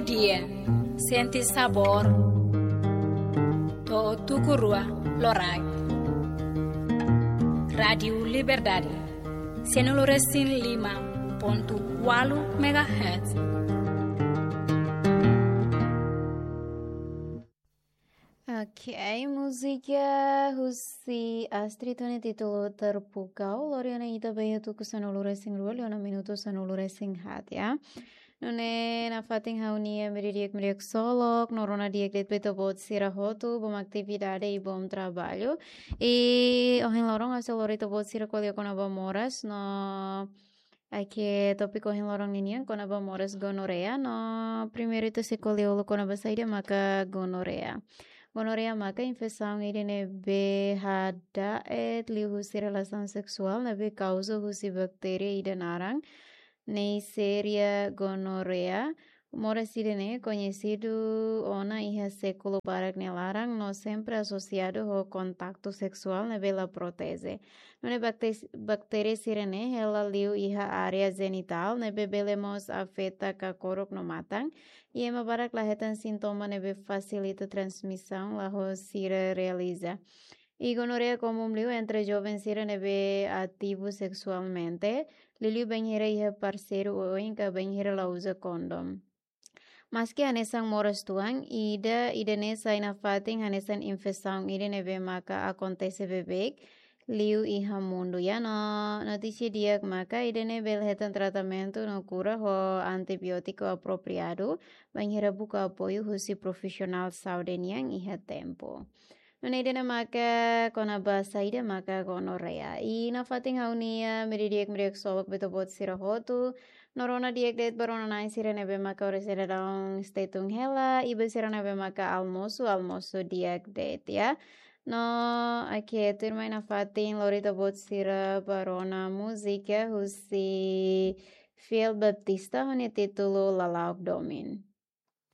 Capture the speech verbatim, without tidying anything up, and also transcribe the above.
Dia, sente sabór. To'o tuku rua loraik. Rádiu Liberdade, sanulu resin lima pontu ualu megahertz. Ok, múzika husi Astrid ho nia títulu Terpukau, lori ona ita ba iha tuku sanulu resin rua, liu ona minutu sanulu resin haat, ya. Nune'e nafatin ha'u-nia media di'ak, media ksolok, no rona di'ak de'it ba ita-boot sira hotu, bom atividade i bom traballu. I ohin loron ha'u sei lori ita-boot sira ko'alia kona-ba moras, no Oke, tópiku ohin loron ninian kona-ba moras gonorreia, no primeiru ita sei ko'alia uluk kona-ba saida maka gonorreia. Gonorreia maka infesaun ida ne'ebé hada'et liuhusi relasaun seksuál ne'ebé kauza husi baktéria ida naran Neisseria gonorrhoeae. Moras ida-ne'e koñesidu ona iha sékulu barak nia laran no sempre asosiadu ho kontaktu seksuál ne'ebé la proteje. Nune'e bakte-, baktéria sira-ne'e hela liu iha área jenitál ne'ebé bele mós afeta kakorok no matan, i ema barak la hetan sintoma ne'ebé fasilita transmisaun la ho sira realiza. I gonorreia komún liu entre joven sira ne'ebé ativu seksualmente, liuliu bainhira iha parseiru oioin ka bainhira la uza kondom. Maski hanesan moras tuan, ida, ida-ne'e sai nafatin hanesan infesaun ida ne'ebé maka akontese beibeik liu iha mundu, ya, no notísia di'ak maka ida-ne'e bele hetan tratamentu no kura ho antibiótiku apropriadu, bainhira buka apoiu husi profisionál saúde nian iha tempu. Nune'e ida-ne'e maka kona-ba saida maka gonorreia. I nafatin ha'u-nia media di'ak, media ksolok ba ita-boot sira hotu. No rona di'ak de'it ba rona-na'in sira ne'ebé maka oras ida daudaun stay tune hela, i ba sira ne'ebé maka almosu, almosu di'ak de'it, ya. No, oke, tuirmai nafatin lori ita-boot sira ba rona múzika husi Fiel Baptista ho nia títulu Lala'ok Domin.